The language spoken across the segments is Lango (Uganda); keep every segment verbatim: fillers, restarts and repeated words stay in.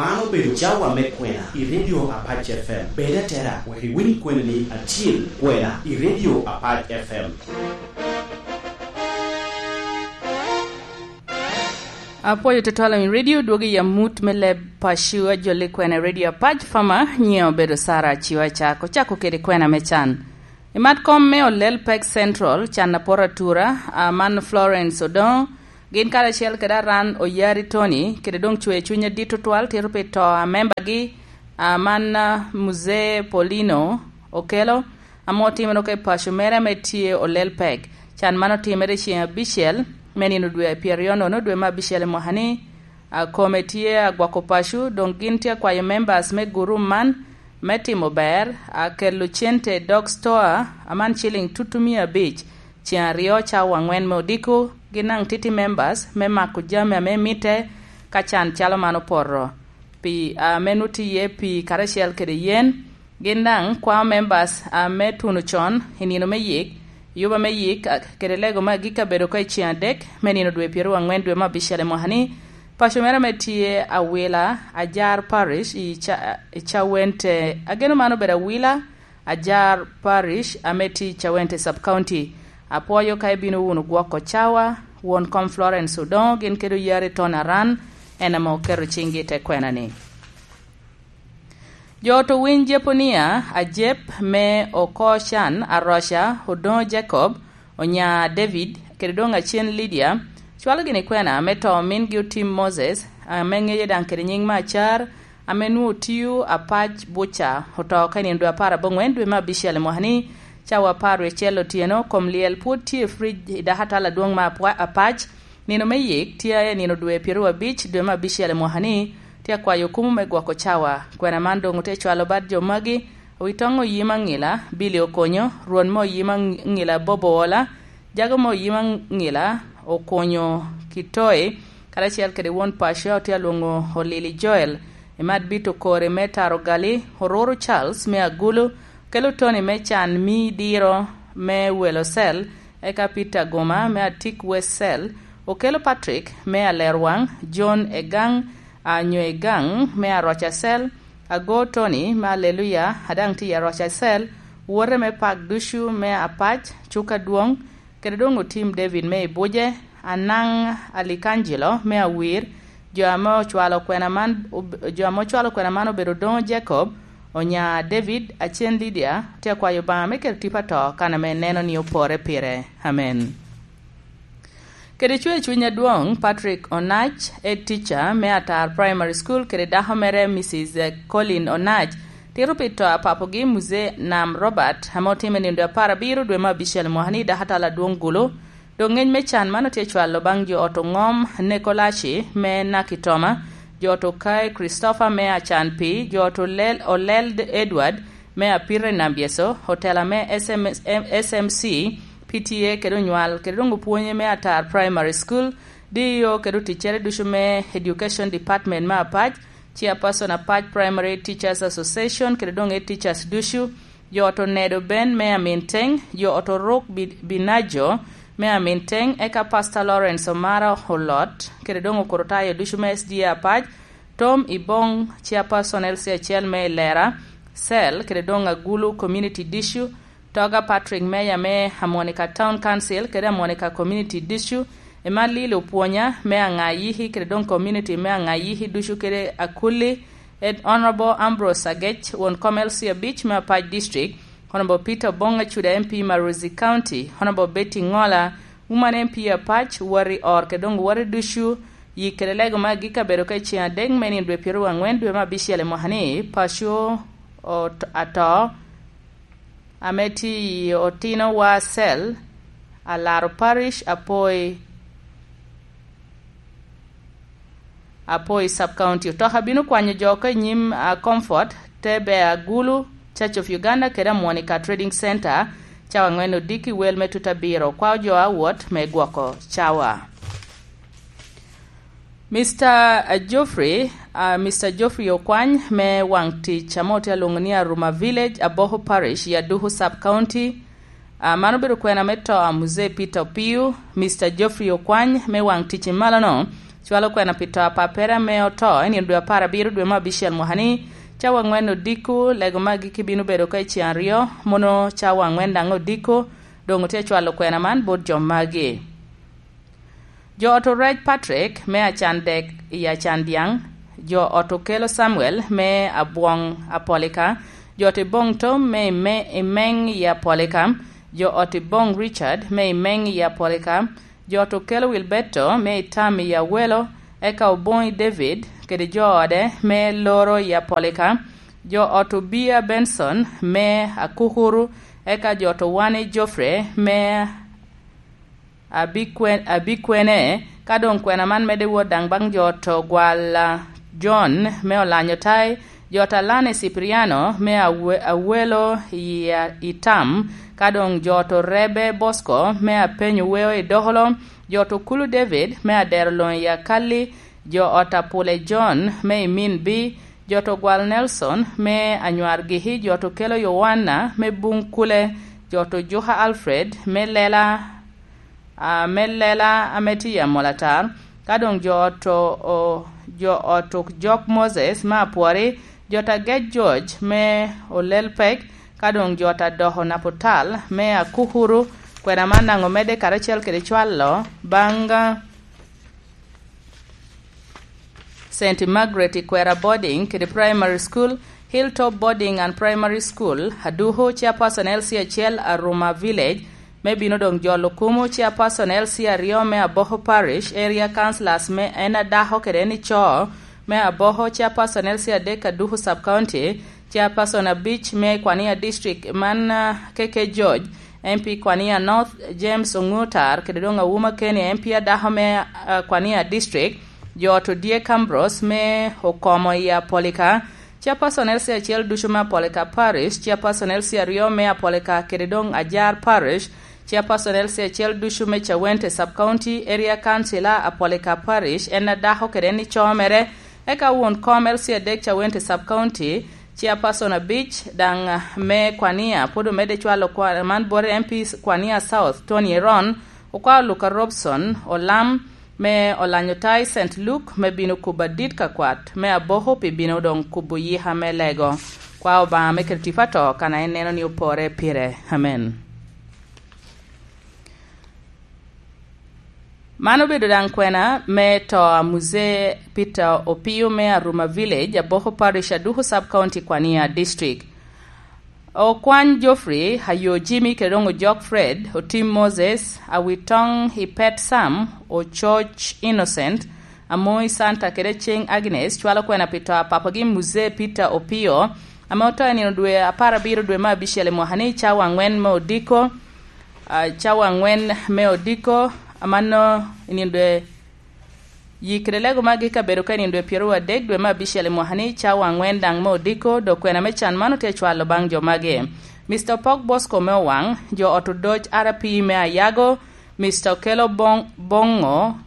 Man obedo cawa me kwena i Radio Apac F M. Bed atera wek iwiny kwena-ni acil, kwena i Radio Apac F M. Apwoyo tutwal i radio dwogo i amut me leb paco, ajolli kwena i Radio Apac Fama, nyiŋe obedo Sara Aciwa Acak. Ocako kede kwena me can. I mat kom me Olel Pek Central, can aporo atura, a man Florence Odongo, gin karacel kede Aran Oyari Tony, kede doŋ cwer cuny adit tutwal tito pi to a membagi, a man, a, Muzee Paulino Okello, ame otimere oko i paco mere ame tye Olel Pek. Can man otimere i ceŋ abicel me nino dwe a pyeraryo nono dwe me abicel i mwaka-ni. A kome tye agwoko paco, doŋ gin tye akwayo members me gurum man me timo ber, a kelo cente i dog stoa, aman ciling tutu mia abic, ceŋ aryo cawa aŋwen me odiko, gin daŋ titi members me mako jami ame mitte ka can calo man opoto. Pi, a, ame nuti iye pi karacel kede yen, gin daŋ kwao members, a, me tuno con i nino me yik, yuba me yik, a, kede lego me agikki abedo oko i ceŋ adek me nino dwe pyeraryo aŋwen dwe me abicel i mwaka-ni. Paco mere ame tye Awila Ajar Parish i Ca-, i Cawente, ageno man obedo Awila Ajar Parish ame tye i Cawente Sub County. Apwoyo ka ibino wunu gwoko cawa, won kom Florence Odongo gin kede Oyari Tony Aran, en ame oketo ciŋgi i te kwena-ni. Jo ot owiny Jeponia, Ajep me Okocan, Aroca, Odongo Jacob, Onya David, kede doŋ Acen Lydia, cwalo gini kwena me to mingi Otim Moses, ame ŋeye daŋ kede nyiŋ me Acar, ame nwoŋo tio Apac Buca, oto ka i nino dwe apar aboŋwen dwe me abicel i mwaka-ni, cawa apar wie acel otyeno, kom lyel pwod tye i frij i dako atal adwoŋ me Apwa-, Apac, nino me yik tye i nino dwe pyeraryo abic dwe me abicel i mwaka-ni. Tye akwayo okumu me gwoko cawa. Kwena man doŋ otye cwalo bad jo magi: Owitoŋ Oyim Aŋila, Billy Okonyo, Rwon me Oyim Aŋila, Bobo Ola, Jago me Oyim Aŋila, Okonyo Kitoi, karacel kede won paco a otye alwoŋo Olili Joel, Emad Bito Kore me Taro Gali, Oruru Charles me Agulu, Kelo Tony me Can Mi Diro me Welo Cell, eka Peter Goma me Atik West Cell, Okelo Patrick me Alerwaŋ, John Egaŋ, Anyo Egaŋ me Aroca Cell, Ago Tony me Aleluya, a daŋ tye i Aroca Cell, wote me Pak ducu me Apac, Cuka Dwoŋ, kede doŋ Otim David me Ibuje, Anaŋ Alikangelo me Awir, jo ame ocwalo kwena man, ob-, jo ame ocwalo kwena man obedo Odoŋo Jacob, Onya David, Acen Lydia. Tye akwayo Obaŋa me keto tipo ato kan ame neno ni opore pire. Amen. Kede cwer cuny adwoŋ, Patrick Onac, head teacher me Atar Primary School, kede dako mere, Missus Colin Onac, tito pi to a papogi, Muzee Nam Robert, ame otimo i nino dwe apar abiro dwe me abicel mwaka-ni i dako atal adwoŋ Gulu. Doŋ ŋec me can man otye cwalo baŋ jo ot oŋom Nekolaci me Nakitoma, jo ot Okai Christopher me Acanpi, jo ot Olel, Olel Edward me Apite i Nambyeso, otela me S M S, S M C, P T A kede onywal, kede doŋ opwonye me Atar Primary School, D E O kede oticcere ducu me Education Department me Apac, Chairperson Apac Primary Teachers Association kede doŋ Head Teachers ducu, jo ot Onedo Ben me Aminteng, jo ot Oruk Bi-, Binajo me Aminteng, eka Pastor Lawrence Omara Olot, kede doŋ okototayo ducu me S D A Apac, Tom Ibong, Chairperson L C acel me Ilera Cell, kede doŋ Agulu Community District, Toga Patrick Meya me Amonica Town Council, kede Amonica Community District, Emma Lili Opwonya me Aŋayiki, kede doŋ community me Aŋayiki ducu, kede Akulli, Ed Honorable Ambrose Agec, won kom L C abic me Apac District, Honorable Peter Obong Acuda M P Marozi County, Honorable Betty Ŋola, Woman M P Apac, wati or kede doŋ wati ducu, yik kede lego me agikki abedo ka i ceŋ adek me nino dwe pyeraryo aŋwen dwe me abicel i mwaka-ni, paco ot-, ato, ame tye i Otino War Cell, Alaro Parish, Apoi, Apoi Sub County. Otoka bino kwanyo jo oko i nyim, a, Comfort, Tebe Agulu, Church of Uganda kede Amonica Trading Center, cawa aŋwen odiki wel me tuta abiro. Kwao jo a wot me gwoko cawa. Mister Geoffrey, a, Mister Geoffrey Okwany me waŋ tic ame otye alwoŋo ni Aruma Village, Aboho Parish, i Aduku Sub County, a, man obedo kwena me to a Muzee Peter Opiyo. Mister Geoffrey Okwany me waŋ tic i malono, Cwalo kwena pi to a pappere ame oto i nino dwe apar abiro dwe me abicel mwaka-ni, cawa aŋwen odiko, lego magi kibino bedo oko i ceŋ aryo, mono cawa aŋwen daŋ odiko, doŋ otye cwalo kwena man bot jo magi. Jo ot orec Patrick me Acandek i Acandyaŋ, jo ot okelo Samuel me Abwoŋ Apolika, jo ot Iboŋ Tom me Ime-, Imeŋ i Apolika, jo ot Iboŋ Richard me Imeŋ i Apolika, jo ot okelo Wilberto me Itam i Awelo, eka Oboŋi David kede jo ode me Loro i Apolika, jo ot Obia Benson me Akukuru, eka jo ot Owani Geoffrey me abikwe-, abikwene, ka doŋ kwena man medde wot daŋ baŋ jo ot Ogwal, a, John me Olanyo Tai, jo ot Alani Cipriano me Awe-, Awelo i, a, Itam, ka doŋ jo ot Orebe Bosco me Apenyo Weo i Dokolo, jo ot Okulu David me Adero Loŋ i Akali, jo ot Apule John me Iminbi, jo ot Ogwal Nelson me Anywar Giki, jo ot Okelo Yowanna me Buŋ Kule, jo ot Ojuka Alfred me Lela, a, me Lela ame tye i Amolatar, ka doŋ jo ot o-, o-, jo ot Jok Moses me Apwori, jo ot Agec George me Olelpek, ka doŋ jo ot Adoko Naputal me Akukuru. Kwena man daŋ omedde karacel kede cwalo baŋ Saint Margaret Ikwera Boarding kede Primary School, Hilltop Boarding and Primary School, Aduku, Chairperson L C acel, Aruma Village, me bino doŋ jolo kumo, Chairperson L C aryo me Aboko Parish, Area Councillors me en adako kede en ico me Aboko, Chairperson L C adek Aduku Sub County, Chairperson abic me Kwania District man, ah, K K George, M P Kwania North, James Ongutar, kede doŋ Awuma Keni, M P adako me, ah, Kwania District, jo ot Odyek Ambrose me Okomo i Apolika, Chairperson L C acel ducu me Apolika Parish, Chairperson L C aryo me Apolika kede doŋ Ajar Parish, Chairperson L C acel ducu me Cawente Sub County, Area Councillor Apolika Parish, en adako kede en ico mere, eka won kom L C adek Cawente Sub County, Chairperson abic daŋ, ah, me Kwania, pwod omedde cwalo kwa-, man bot M P Kwania South, Tony Eron, okwao Luka Robson, Olam, me Olanyo Tai Saint Luke, me bino kubo adit ka kwat, me Aboko pi bino doŋ kubo yika me lego. Kwa Obaŋa me kede tipo ato, kan a en neno ni opore pire. Amen. Man obedo daŋ kwena me to a Muzee Peter Opio me Aruma Village, Aboko Parish, Aduku Sub County, Kwania District. Okwany Geoffrey, Ayo Jimmy, kede doŋ Ojok Fred, Otim Moses, Awitoŋ Ipet Sam, Ococ Innocent, Amoi Santa, kede Ceng Agnes, cwalo kwena pi to a papagi Muzee Peter Opio, ame oto i nino dwe apar abiro dwe me abicel i mwaka-ni, cawa aŋwen me odiko, ah, cawa aŋwen me odiko, amanno i nino dwe, yi kede lego magi ka bedo ka i nino dwe pyeraryo adek dwe me abicel i mwaka-ni, cawa aŋwen daŋ me odiko, dok kwena me can man otye cwalo baŋ jo magi: Mister Opok Bosco me Owaŋ, jo ot Odoc R P me Ayago, Mister Okelo Bong-, Boŋo,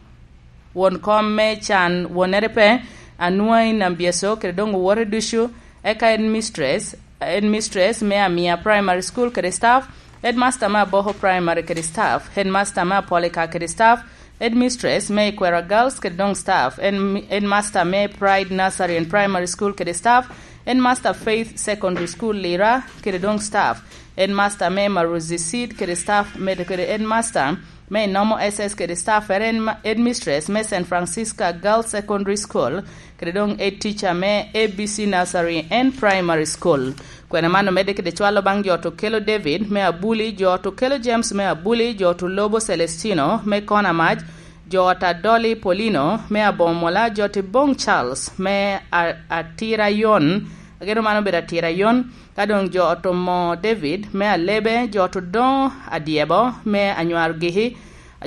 won kom me can wonere pe, Anwai Nambyeso, kede doŋ owote ducu, eka headmistress, headmistress me Amia Primary School kede staff, headmaster me Aboko Primary kede staff, headmaster me Apolika kede staff, headmistress me Ikwera Girls kede doŋ staff, head-, headmaster me Pride Nursery and Primary School kede staff, headmaster Faith Secondary School Lira kede doŋ staff, headmaster me Maruzi Seed kede staff, medo kede headmaster me Inomo S S kede staff, ere en ma-, headmistress me Saint Francisca Girls Secondary School, kede doŋ head teacher me A B C Nursery and Primary School. Kwena man omedde kede cwalo baŋ jo ot Okelo David me Abuli, jo ot Okelo James me Abuli, jo ot Olobo Celestino me Konamac, jo ot Adoli Polino me Abomola, jo ot Ibong Charles me A-, Atirayon, ageno man obedo Atirayon, ka doŋ jo ot Omo David me Alebe, jo ot Odoŋo Adyebo me Anywar Giki,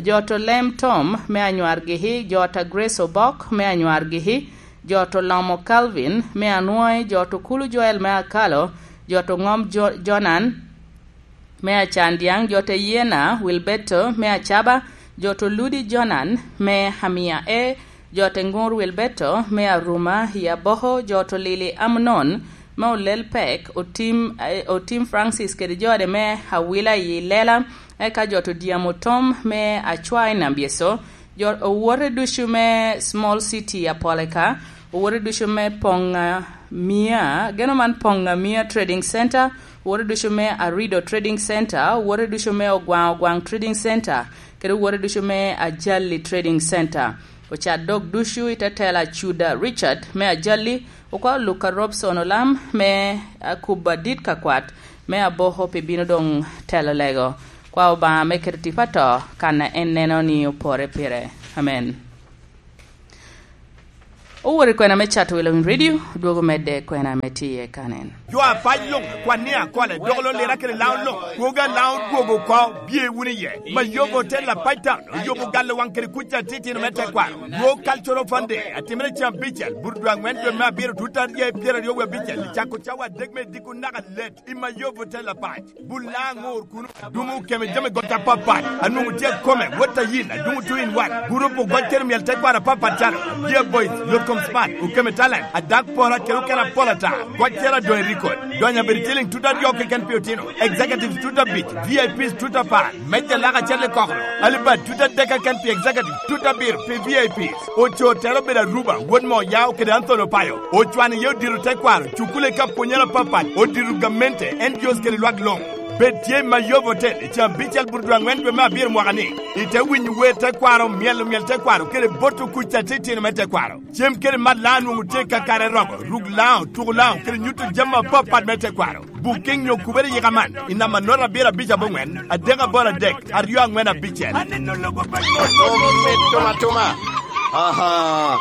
jo ot Olem Tom me Anywar Giki, jo ot Grace Obok me Anywar Giki, jo ot Olomo Calvin me Anwoŋi, jo ot Okulu Joel me Akalo, jo ot Oŋom Jo-, Jonan me Acandyaŋ, jo ot Yiena Wilberto me Acaba, jo ot Oludi Jonan me Amia E, jo ot Eŋur Wilberto me Aruma i Aboko, jo ot Olili Amnon me Olel Pek, Otim, eh, Otim Francis kede jo ode me Awila i Lela, eka jo ot Odyamo Tom me Acwa i Nambyeso, Jo, owote ducu me Small City Apoleka, owote ducu me Ponga Mia, geno man Ponga Mia Trading Center, owote ducu me Arido Trading Center, owote ducu me Ogwaŋ Ogwaŋ Trading Center, kede owote ducu me Ajali Trading Center. Ocat dog ducu i te tela Cuda Richard me Ajali, okwao Luka Robson Olam me akubo adit ka kwat me Aboko pi bino doŋ telo lego. Kwa Obaŋa me keto tipo ato kan a en neno ni opore pire. Amen. Owor i kwena me Cato Willing Radio, dwogo medde kwena me tiye kanen. Jo apac luŋ, kwan ni akole, dok lo lira kede laŋo luŋ, kwogo alaŋo dwogo oko, bye wunu iye. Mayobo Hotel Apac Town, oyobo galo waŋ kede kuc atitino me tekwaro. World Cultural Fund Day, atimere cam bicel, burudwa aŋwen dwe me abiro, tut aryo i pyeraryo wie abicel, i cako cawa adek me diko naka let, i Mayobo Hotel Apac. Bul laŋ ŋur kuno, adumo keme jami got apapat, anwoŋo tye akome, wot ayin, adumo two in one. Gurup ogoc kede myel tekwaro apapat calo, Dear Boys, Lotkom Smart, Okeme Talent, Adak Pora kede okene apol ata. Goc cero adoŋ i record. Donyo abedo ciliŋ tut aryo keken pi otino. Executives tut abic, V I Ps tut apar. Mejja lak acel i kokoro. Alibad tut adek keken pi executive, tut abiro pi V I Ps. Oco tero obedo Aruba, wot mo Yao kede Anthony Opayo. Ocwano iye odiro tekwaro, cukule ka pwonyere apapat, odiro gamente, N G Os kede lwak luŋ. Bed tye i Mayobo Hotel i caa abicel burudwa aŋwen dwe me abiro mwaka ni. Ite winyo wer tekwaro, myelo myel tekwaro, kede boto kuc atitino me tekwaro. Cem kede mat laŋo nwoŋo tye kakare rogo, ruk laŋo, tuko laŋo, kede nyuto jami apapat me tekwaro. Booking nyo kubere yika man, i namba note abiro abic aboŋwen, adek aboro adek, aryo aŋwen abicel. Aneno lobo pa Mito atuma. Aha.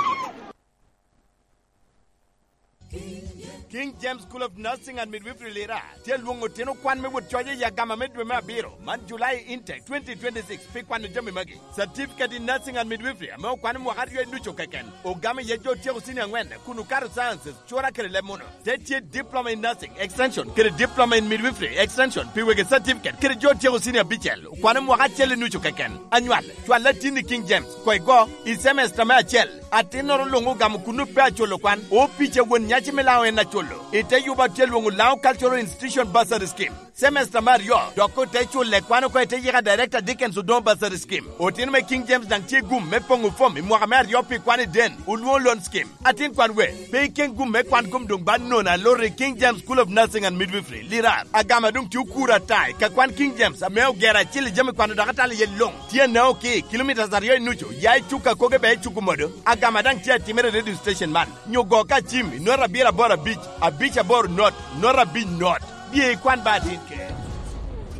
King James School of Nursing and Midwifery Lira tye lwoŋo otino kwan me wot coc i agama me dwe me abiro, man July intake twenty twenty-six, pi kwano jami magi. Certificate in Nursing and Midwifery ame okwane mwaka aryo i nucu keken, ogamo iye jo otyeko senior aŋwen kun okato sciences, cura kede leb muno. Te tye Diploma in Nursing Extension kede Diploma in Midwifery Extension pi wegi certificate kede jo otyeko senior abicel, okwane mwaka acel i nucu keken. Anywal, cwal atin i King James, koi go, i semester me acel. Atinnoro luŋ ogamo kuno pe aculo kwan. Opic a won nyaci me Laŋo en aculo. I te yuba tye lwoŋo Laŋo Cultural Institution Bursary Scheme. Semester me aryo, dok ote culle kwan oko i te yika Director Dickens Odongo Bursary Scheme. Otino me King James daŋ tye gum me poŋo fom i mwaka me aryo pi kwan i den, olwoŋo Loan Scheme. Atin kwan we, pe iken gum me kwan kom doŋ ba nono alor i King James School of Nursing and Midwifery, Lirar. Agama doŋ tye okuro ata i ka kwan King James ame ogero acil i jami kwano dok atalo iye luŋ. Tye anao ki kilomitas aryo i nucu, ya i cuk akoge bea i cuk omodo. Agama daŋ tye atimere i radio station man. Nyo go ka cim i nota abiro aboro abic, abic aboro not, nota abic not. Bye ikwan ba atin ke.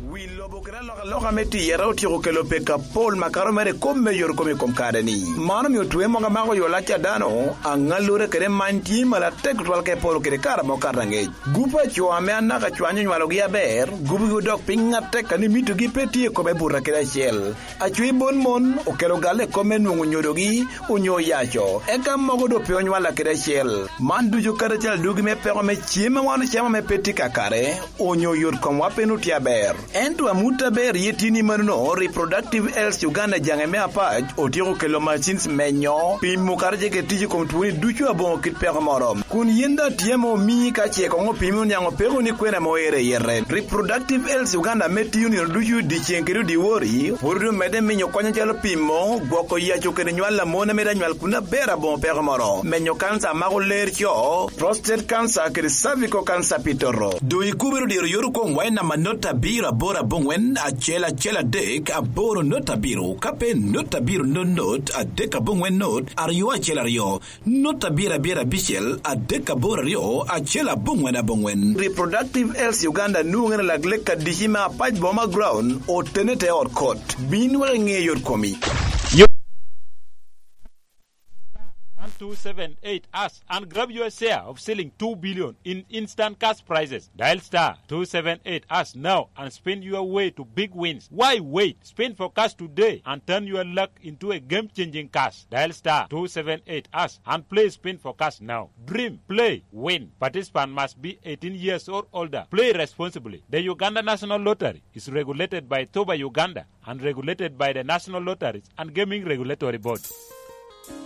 Wi lobo kede alokaloka me tiyere otyeko kelo pek apol makato mere kop me yorokome i kom kare-ni. Man omio twe mogo amako yo lac a dano, aŋallure kede many tye malo atek tutwal ka epolo kede kare amo kato aŋec. Gup a co ame anaka cwany onywalogi aber, gupgi odok piny atek a ni mitogi pe tye i kome buta kede acel. Acwi bon mon okelo galle i kop me nwoŋo nyodogi onyo oyaco, eka mogo doŋ pe onywalla kede acel. Man ducu kadi acel adugi me peko me cem a wan ocamo ame pe tye kakare, onyo yot komwa pe nut tye aber. Ento amut aber iye tye ni manono, Reproductive Health Uganda jaŋe me apac otyeko kelo machines menyo, pimo kadi ce kede tic i kom twoni ducu aboŋo kit peko moro. Kun yin daŋ tye ame omii ka ce koŋ opimi oniaŋ opeko ni kwena ame oero i yete. Reproductive Health Uganda ame tiyo nino ducu dyeceŋ kede dyewor, pwod omedde miyo kony acalo pimo, gwoko yaco kede nywal a mon ame daŋ nywal kun aber aboŋo peko moro, menyo kanca a mako ler co, prostate cancer kede cervical cancer pi toto. Doŋ ikubere odiro yot okomwa i namba not abiro aboro aboŋwen acel acel adek aboro not abiro, ka pe not abiro not not adek aboŋwen not aryo acel aryo. Not abiro abiro abicel adek aboro aryo acel aboŋwen aboŋwen. Reproductive Health Uganda nwoŋere lak lek adici me apac boma ground otene te ot kot. Bin wek iŋe yot komi. One two seven eight us and grab your share of ceiling two billion in instant cash prizes. Dial star two seven eight us now and spin your way to big wins. Why wait? Spin for cash today and turn your luck into a game-changing cash. Dial star two seven eight hash and play Spin for Cash now. Dream, play, win. Participant must be eighteen years or older. Play responsibly. The Uganda National Lottery is regulated by Toba Uganda and regulated by the National Lotteries and Gaming Regulatory Board.